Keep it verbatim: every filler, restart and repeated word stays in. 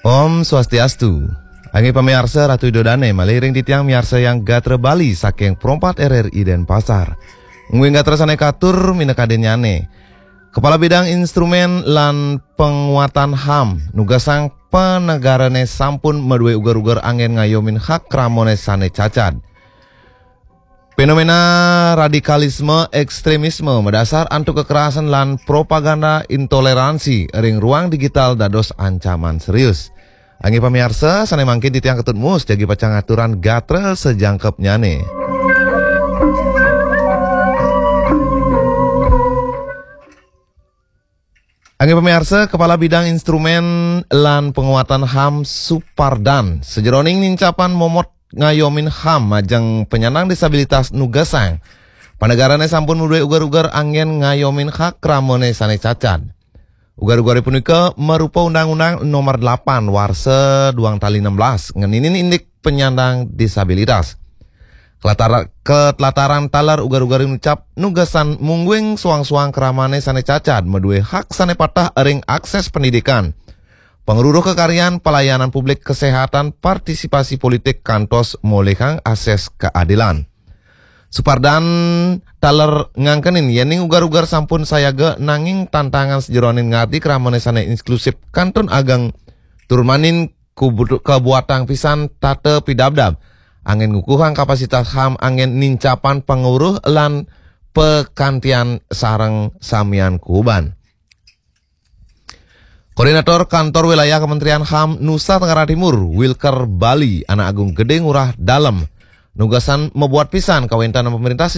Om Swastiastu. Anggi pamiarsa, Ratu Ida Dane malih ring titiang miarsa yang gatra Bali saking Pro empat R R I Denpasar. Ngwi gatra sane katur minakadin nyane. Kepala Bidang Instrumen lan Penguatan HAM nugasang panegarane sampun madue uger-uger anggen ngayomin hak kramane sane cacad. Fenomena radikalisme ekstremisme madasar antuk kekerasan lan propaganda intoleransi ring ruang digital dados ancaman serius. Anggi pamiarsa, sane mangkin titiang Ketut Mus jagi pacang ngaturan gatra sajangkepnyane. Anggi pamiarsa, Kepala Bidang Instrumen lan Penguatan HAM Supardan sajeroning nincapan momot ngayomin HAM majeng penyandang disabilitas nugasang panegarane sampun madue uger-uger anggen ngayomin hak kramane sane cacad. Uger-ugere punika marupa Undang-Undang Nomor delapan Warsa duang tali enam belas ngeninin indik penyandang disabilitas. Kelatar, ketelataran taler uger-uger ngucap nugasan mungguing suang-suang kramane sane cacad madue hak sane patah ring akses pendidikan, pangruruh kekaryan, pelayanan publik, kesehatan, partisipasi politik, kantos molihang akses keadilan. Supardan taler ngangkenin yening uger-uger sampun sayaga nanging tantangan sajeroning ngardi kramane sane inklusif kantun ageng tur manin kubutu-, kabuatang pisan tata pidabdab anggen ngukuhang kapasitas HAM anggen nincapan panguruh lan pakantian sareng samian kuuban. Koordinator Kantor Wilayah Kementerian HAM Nusa Tenggara Timur, Wilker Bali, Anak Agung Gede Ngurah Dalem, nugasan mabuat pisan kawentenan pemerintah